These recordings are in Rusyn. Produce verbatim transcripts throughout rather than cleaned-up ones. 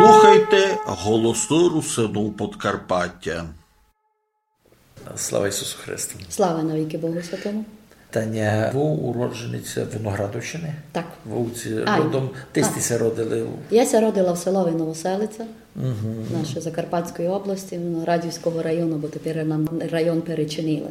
Слухайте Голосы Русинув Подкарпатя. Слава Ісусу Христу. Слава навікы Богу Святому. Таня, вы уроджениця Виноградовщины? Так. Вы у ці-, Ай. Родом, десь сьте ся родили? Я ся родила в селови Новоселиця нашої Закарпатської області, Виноградівського району, бо тепер нам район перечинили.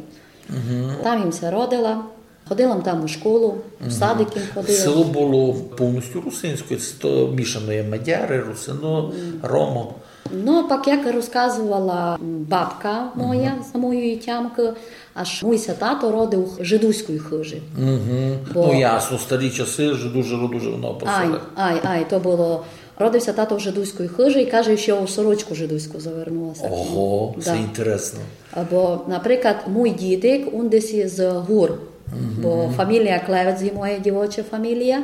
Там им ся родила. Ходила м там у школу, у садик им ходила. Село было повністю русинське, се то мішано є мадяри, русины, ромы. Ну, пак як розказовала бабка моя, самої тямки, аж муй ся тато родив у жидуській хыжі. Бо... Ну, ясно, старі часы, жиду, жиду, жиду, ну, по селах. Ай, ай, то было. Родив ся тато в жидуській хыжі і, каже, ще у сорочку жидуську завернула ся. Ого, се інтересно. Бо, наприклад, муй дідик, ун десь із гур, бо фамілія Клевець є моя дівоча фамілія.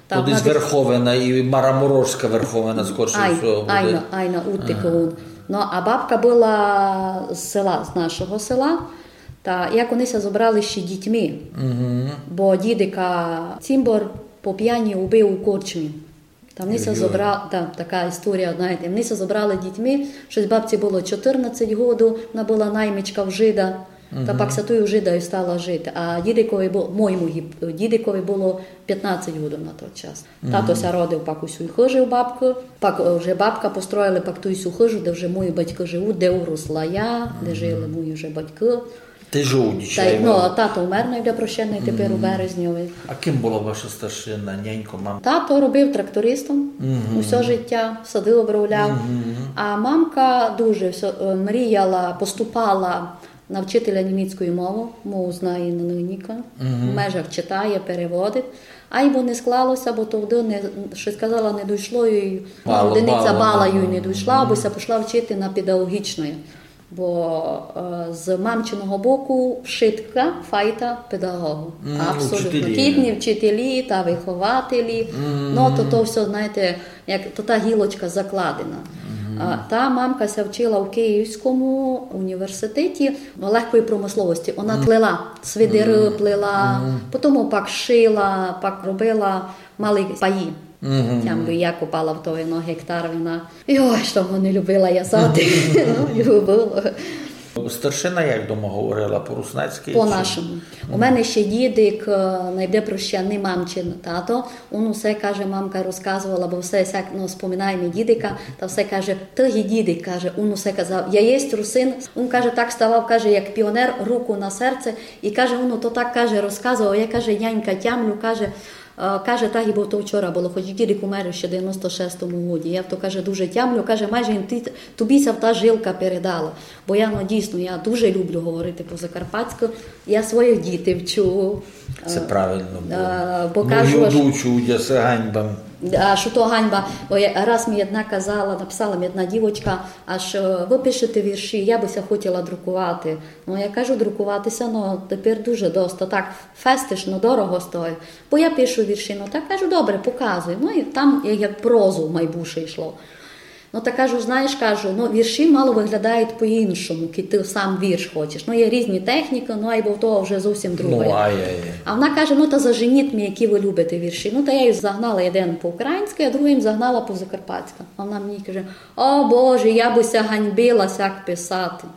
То десь Верховина і Мараморожська Верховина, скорше всього, буде. Айно, айно, удтик ун. Ну, а бабка была з села, з нашого села, та як они ся зобрали ще дітьми, бо дідика цімбор по пяні убив у корчмі. Та они ся зобрали, та, така історія, знаєте, они ся зобрали дітьми, штось бабці было чотырнадцять году, она была наймичка в жида, та пак ся туй у жида і стала жити. А дідикови бу-, моєму гі-, дідикови было пятнадцять году на тот час. Тато ся родив пак у сюй хыжі у бабкы, пак, е, вже бабка построїли пак туй сю хыжу, де вже мої батькы живуть, де уросла я, де жили мої вже батькы. Ты жив у Дічаєві? Ну, тато умер, най буде прощений, тепер у березньови. А ким была ваша старшина, нянько, мамка? Тато робив трактористом усьо життя, сады обробляв. А мамка дуже всьо, е, мріяла, поступала на вчителя німецької мови, мову знає на нынька, в межах читає, переводить. Айбо не склало ся, бо тогды не, штось, казала, не дійшло, і одиниця бала їй не дійшла, або ся пішла вчити на педагогічне. Бо, е, з мамчиного боку вшытка файта педагогу. Абсолютно. Учителі. Кітні вчителі та вихователі. Ну, то, то всьо, знаєте, як то та гілочка закладена. А та мамка ся вчила у Київському університеті, ну, легкої промисловості. Вона плела, свидеры плела, потім пак шила, пак робила малі паї. Тямлю, я копала в тої, ну, гектар вина. Йой, што го не любила вязати. Ну, любила. Старшина як дома говорила? По-руснацькы чи? По-нашому. У мене ще дідик, е, най буде прощений мамчин тато, ун усе, каже, мамка розказовала, бо все сяк, ну, споминає ми дідика, та все каже: «Ты є дідик», каже, ун усе казав: «Я єсть русин». Ун, каже, так ставав, каже, як піонер, руку на серце, і, каже, ун то так, каже, розказовав, я, каже, нянька, тямлю, каже, Е, каже, та гибы то вчора было, хоч дідик умер ще в девяносто шестому годі. Я то, каже, дуже тямлю, каже, майже ті-, тобі ся та жилка передала. Бо я, ну, дійсно, я дуже люблю говорити по-закарпатськы. Я своїх дітей вчу. Се правильно было. Е, бо кажу, аж, учу, я, се ганьба. А што то ганьба? Бо я, раз ми одна казала, написала ми одна дівочка, аж, е: «Вы пишете вірші, я бы ся хотіла друкувати». Ну, я кажу, друкувати ся, ну, тепер дуже доста. Так, фестиш, ну, дорого стоїть. Бо я пишу вірші, ну, так кажу, добре, показуй. Ну, і там як, як прозу май більше йшло. Ну, та кажу, знаєш, кажу, ну, вірші мало виглядають по-іншому, коли ти сам вірш хочеш. Ну, є різні техніки, ну, айбо то вже зовсім друге. Ну, ай, ай, ай. А вона каже: «Ну, та заженіть мені, які ви любите вірші». Ну, та я їй загнала один по-українськи, а другий їм загнала по-закарпатськи. А вона мені каже: «О, Боже, я бы ся ганьбила сяк писати».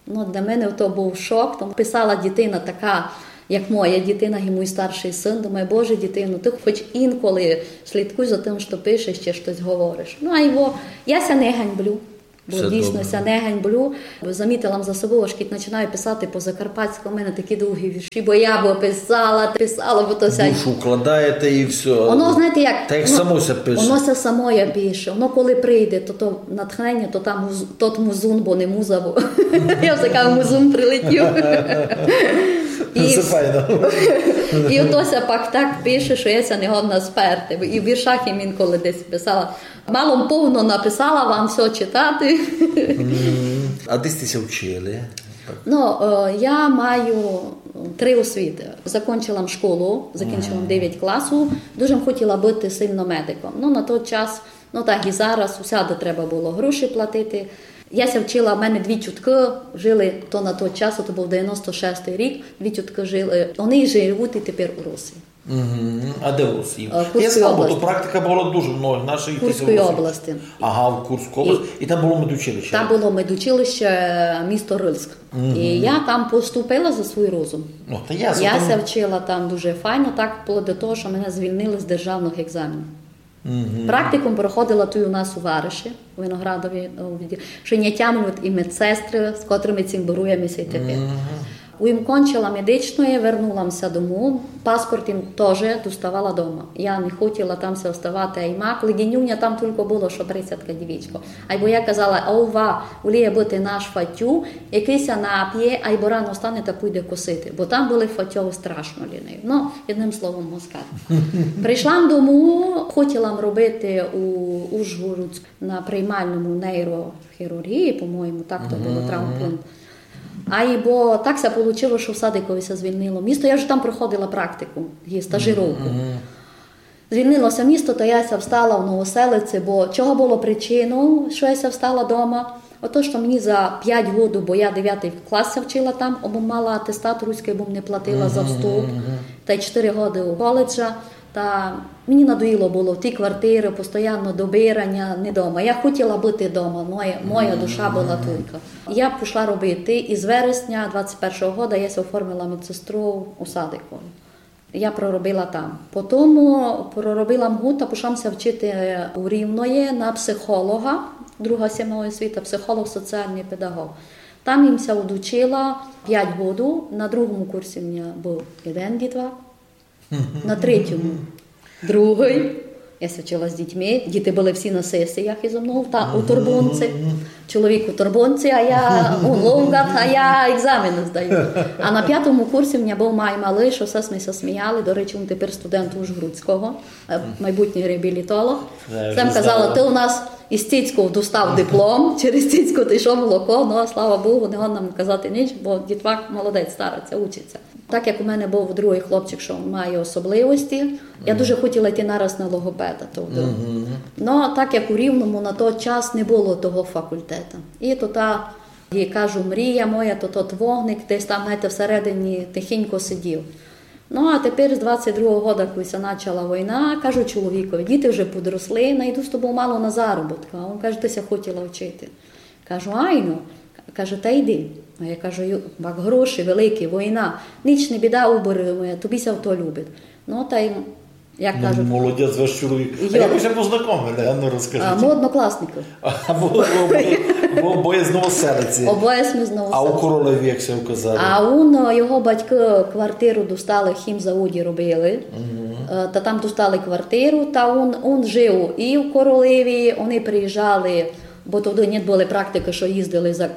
Ну, для мене то був шок. Там писала дитина така, як моя дитина, і мій старший син. Думаю: «Боже, дитино, ти хоч інколи слідкуй за тим, що пишеш чи щось говориш». Ну, а його, я ся не ганьблю. Бо дійсно ся не ганьблю. Замітила за собою, аж кідь починаю писати по-закарпатськи, у мене такі довгі вірші, бо я б писала, писала, бо то ся... Душу вкладаєте і всьо. Воно, знаєте, як, так як, ну, само ся пише. Воно ся самоє пише. Воно коли прийде, то, то натхнення, то там муз-, тот музун, бо не муза, бо я все кажу, музун прилетів. І, це файно. І ото ся пак так пише, що я ся не годна сперти. І в віршах їм інколи десь писала. Мало м повно написала вам всьо читати. М, а де сте ся вчили? Ну, е, я маю три освіти. Закончила м школу, закінчила м девять класу. Дуже м хотіла быти сильно медиком. Ну, на той час, ну, так і зараз, усяде треба было гроші платити. Я ся вчила, в мене дві тюткы жили, то на той час, то быв девяносто шестый рік, дві тюткы жили, они живуть і тепер у Русі. Мгм. А де у Росії? Е, Курської області. Я знав, бо то практика була дуже много в нашій Курської області. Ага, в Курській області. І там було медучилище. Там було медучилище, місто Рильськ. Мгм. І я там поступила за свій розум. Ну, та ясно, я там ся вчила там дуже файно, так, вплоть до того, що мене звільнили з державних екзаменів. Мгм. Практикум проходила туй у нас у вариші, у Виноградові, у відділі. Ще не тямлю і медсестри, з котрыми цімборуєме ся й тепер. Мгм. Им кончила медичноє, вернула м ся дому. Паспорт им тоже доставала дома. Я не хотіла там ся оставати, ай мак. Леденюня там тілько было, што брицятка дівічко. Айбо я казала: «Ова, уліє быти наш фатю, якый ся напє, айбо рано стане та пуйде косити». Бо там были фатьовы страшно ліниві. Ну, одним словом, москаль. Прийшла м дому, хотіла м робити у Ужгородську на приймальному нейрохірургії, по-моєму, так то было, травмпункт. Айбо так ся получило, што в Садикові ся звільнило місто. Я вже там проходила практику, і стажировку. Звільнило ся місто, та я ся встала в Новоселиці, бо чого было причиною, што я ся встала дома? Ото, што мені за пять годів, бо я девятый клас ся вчила там, або мала атестат руськый, бо м не платила за вступ, та й чотири годы у коледжа. Та мені надоїло было ті квартиры, постоянно добираня, не дома. Я хотіла быти дома, моя, моя душа была туйка. Я пішла робити, і з вересня двадцять першого года я ся оформила медсестру у Садикові. Я проробила там. Потім проробила м год та пішла м ся вчити у Рівноє на психолога, друга сімейна освіта, психолог, соціалный педагог. Там им ся удучила пять годів, на другому курсі в мене быв єден дітвак, на третьому другый. Я ся вчила з дітьми, діти были всі на сесіях ізо мнов, та у Турбунці. Чоловік у Турбунці, а я у Ловгат, а я екзамены здаю. А на пятому курсі в мене быв май малый, што все сьме ся сміяли, до речі, він тепер студент Ужгородського, е, майбутній реабілітолог. Е, сам казала: «Ты у нас із цицьков достав диплом, через цицьку ти йшов молоко», ну, а слава Богу, не годна м казати ніч, бо дітвак молодець, старається, учиться. Так як у мене быв другый хлопчик, што має особливості, я дуже хотіла йти нараз на логопеда, то вдруг. Ну, так як у Рівному на той час не было того факультета. І то та, як кажу, мрія моя, то тот вогник десь там, знаєте, всередині тихенько сидів. Ну, а тепер з двадцять другого года, коли ся начала война, кажу чоловікові: «Діти вже подросли, найду з тобов мало на заробітку». А він каже: «Ти ся хотіла вчити». Кажу: «Айно». Каже: «Та йди». А я кажу: «Ю-, бак гроші великі, война». «Ніч не біда, уберу, моя, тобі ся то любить». Ну, та й, як кажуть, молодець ваш чоловік. А як вы ся познакомили? А ну, розкажіть. А, мы однокласники. А, бо, бо, бо, бо обоє з Новоселиці. Обоє сьме з Новоселиці. А у Королеві, як ся указали? А он, його батьки квартиру достали, в хімзаводі робили. Е, та там достали квартиру, та он, он жив і в Королеві, они приїжджали, бо тогды не было практикы, што їздили за, е,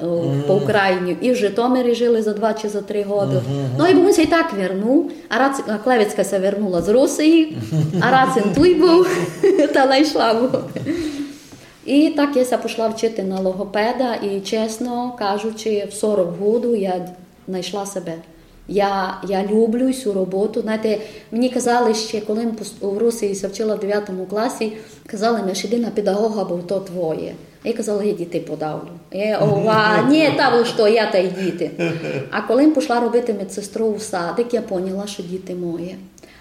по Україні, і в Житомирі жили за два чи за три годы. Ну, і він ся й так вернув, а раз, а Клевецька ся вернула з Росії, а раз він туй быв, та найшла бу. І так я ся пішла вчити на логопеда, і, чесно кажучи, в сорок году я найшла себе. Я, я люблю сю роботу. Знаєте, мені казали ще, коли м пос-, у Росії ся вчила в девятому класі, казали ми, што йди на педагога, бо то твоє. Я казала: «Я дітей подавлю». Я, ова, ні, та вы што, я та й діти. А коли м пішла робити медсестру у садик, я поняла, што діти моє.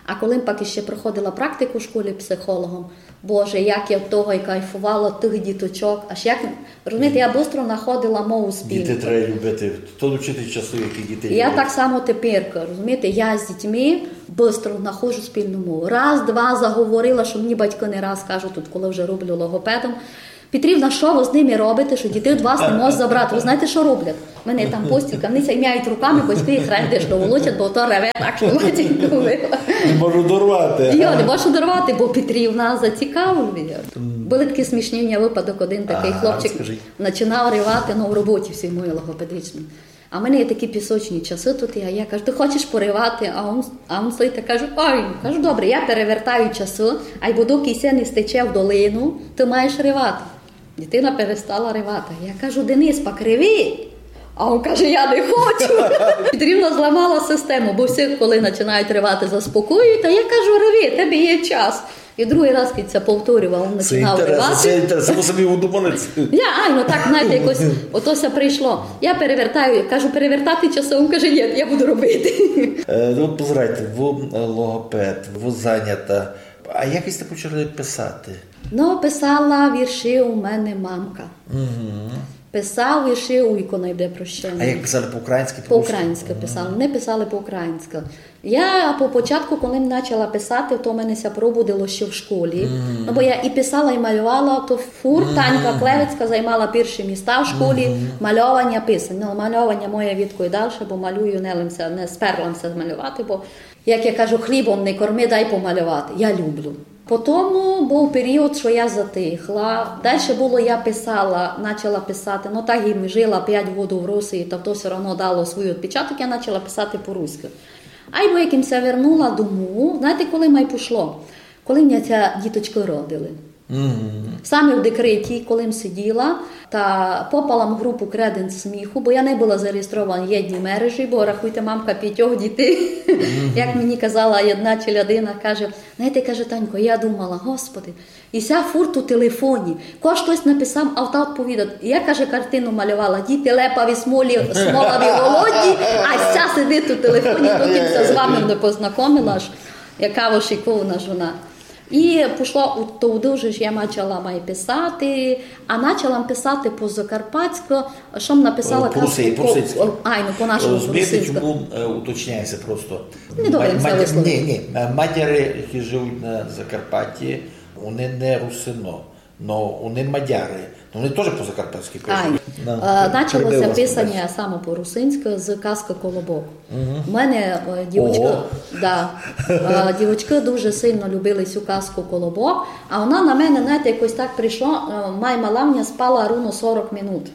А коли м пак іще проходила практику в школі психологом, Боже, як я від того й кайфувала, тых діточок. Аж як, розумієте, я быстро находила мову спільну. Діти треба любити. То учитель часу, який дітей любить. Я так само тепер, розумієте, я з дітьми быстро находжу спільну мову. Раз, два заговорила, што мені батьки не раз кажуть, тут, коли вже роблю логопедом: «Петрівна, што вы з ними робите, што дітей від вас не можуть забрати?» Вы знаєте, што роблять? У мене там постілка, вони ся імняють руками, батьки їх рендеш доволочать, бо то реве так, што матінько мила. Не можу дорвати. Йо, не можу дорвати, бо Петрівна зацікавлює. Были такі смішні в мене выпадок, один такый хлопчик починав ревати, ну, в роботі всій моїй логопедичній. А в мене є такі пісочні часы тут, я, я кажу: «Ты хочеш поревати?» А он, а он стоїть та каже: «Ой», кажу, «добре, я перевертаю часы, айбо докі ся не стече в долину, ты маєш ревати». Дитина перестала ревати. Я кажу: «Денис, пак реви». А он каже: «Я не хочу». Петрівна зламала систему, бо всі, коли починають ревати, заспокоюють. А я кажу: «Реви, в тебе є час». І другый раз, коли ся повторював, він починав ревати. Се інтересно, се інтересно, се мені удуманець. Я, ай, ну так, знаєте, якось ото ся прийшло. Я перевертаю, кажу: «Перевертати часы?» Він каже: «Ні, я буду робити». Е, ну, от позирайте, вы, е, логопед, вы занята. А як сьте почали писати? Ну, писала вірші у мене мамка. Писав вірші уйко, най буде прощеный. А як писали, по-українськы, по-руськы? По-українськы писали, не писали по-українськы. Я по початку, коли м начала писати, то в мене ся пробудило ще в школі. Ну, бо я і писала, і малювала, то фурт Танька Клевецька займала перші міста в школі, мальованя, писаня. Ну, мальованя моє відко й дальше, бо малюю, не лим ся, не сперла м ся малювати, бо, як я кажу, хлібом не корми, дай помалювати. Я люблю. Потому быв період, што я затихла. Дальше было, я писала, начала писати, ну так і жила пять годів в Росії, та то всьо равно дало свій отпечаток, я начала писати по-руськы. Айбо як им ся вернула дому, знаєте, коли май пішло? Коли в мене ся діточкы родили. Саме в декреті, коли м сиділа, та попала м в групу «Креденц сміху», бо я не была зареєстрована в єдній мережі, бо, рахуйте, мамка пятьох дітей. Як мені казала єдна челядина, каже: «Знаєте, — каже, — Танько, я думала, Господи, і ся фурт у телефоні, ко штось написав, а вта одповідать». Я, каже, картину малювала: діти лепаві, смолі, смолаві, голодні, а ся сидить у телефоні, доки м ся з вами не познакомила, аж яка вошикована жона. І пішло у то дуже, ж я начала май писати, а начала м писати по-закарпатськы, што м написала казку по-русинськы. Айно, по-нашому, по-русинськы. Розумієте, чому, е, уточняє ся просто? Не добре м ся высловив. Ні, ні. Е, мадяри, які живуть на Закарпатті, вони не русины. Но вони мадяри, но вони тоже по-закарпатськы пишуть. Ай. Е, начало ся писаня саме по-русинськы з казкы «Колобок». У мене, е, дівочкы, да, е, дівочкы дуже сильно любили сю казку «Колобок», а она на мене, знаєте, якось так прийшло, е, май мала в мене спала руно сорок минут.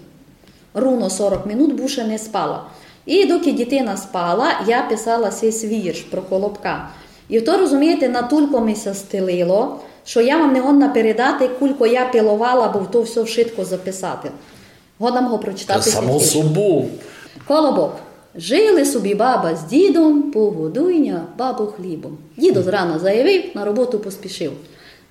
Руно сорок минут буше не спала. І доки дітина спала, я писала сись вірш про колобка. І то, розумієте, натулько ми ся стелило, што я вам не годна передати, кулько я пиловала, бо то всьо вшытко записати. Годна м го прочитати. Та само собов. Колобок. Жили собі баба з дідом, погодуй ня, бабо, хлібом. Дідо зрана заявив, на роботу поспішив.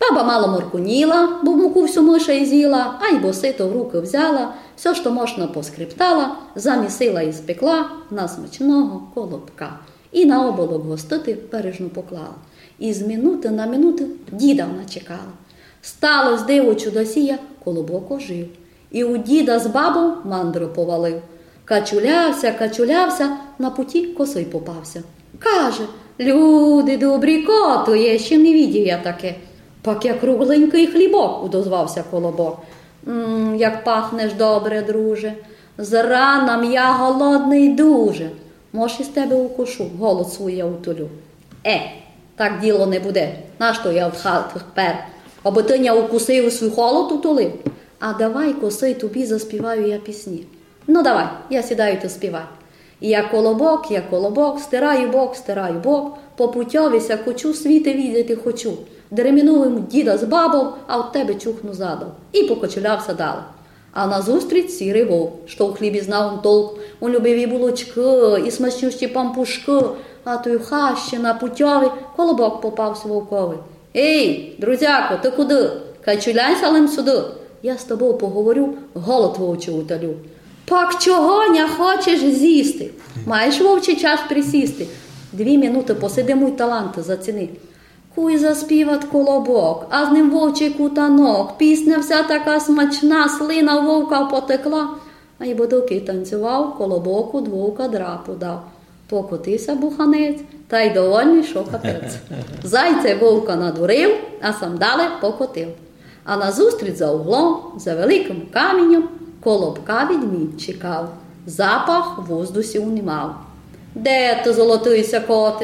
Баба мало морконіла, бо муку всю миша ізїла, айбо сито в рукы взяла, всьо, што можна, поскрептала, замісила і спекла на смачного колобка. І на оболок гостити бережно поклала. І з минуты на минуту діда вона чекала. Стало сь диво чудосія, колобок ожив. І у діда з бабов мандро повалив. Качуляв ся, качуляв ся, на путі косый попав ся. Каже: «Люди добрі, ко то є, ще не видїв я таке». «Пак я кругленькый хлібок», удозвав ся колобок. «М, як пахнеш добре, друже. Зрана м я голодный дуже. Мож, із тебе укушу, голод свуй я утолю». «Е, так діло не буде. Нашто я од хаты пер? Абы ты ня укусив, свуй голод утолив. А давай-ко сей тобі заспіваю я пісні». «Ну, давай, я сідаю, ты співай». Я колобок, я колобок, стираю бок, стираю бок, по путьови ся кочу, світы видіти хочу. Дременув им діда з бабов, а од тебе чухну задов. І покочуляв ся дале. А назустріч сірый вовк, што у хлібі знав он толк. Он любив і булочкы, і смачнющі пампушкы. А туй у хащі на путьови колобок попав ся вовкови. «Ей, друзяко, ты куды? Качуляй ся лем сюды. Я з тобов поговорю, голод вовчий утолю». «Пак чого ня хочеш зїсти? Маєш, вовче, час присісти. Дві минуты посиди, муй талант заціни». Куй заспіват колобок, а з ним вовчий кутанок. Пісня вся така смачна, слина вовка потекла. Айбо докы танцював, колобок од вовка драпу дав. Покотив ся буханець, тай довольный, што капець. Зайця й вовка надурив, а сам дале покотив. А назустріч за углом, за великым каміньом, колобка ведмідь чекав. Запах в воздусі унімав. «Де ты, золотый ся коте?»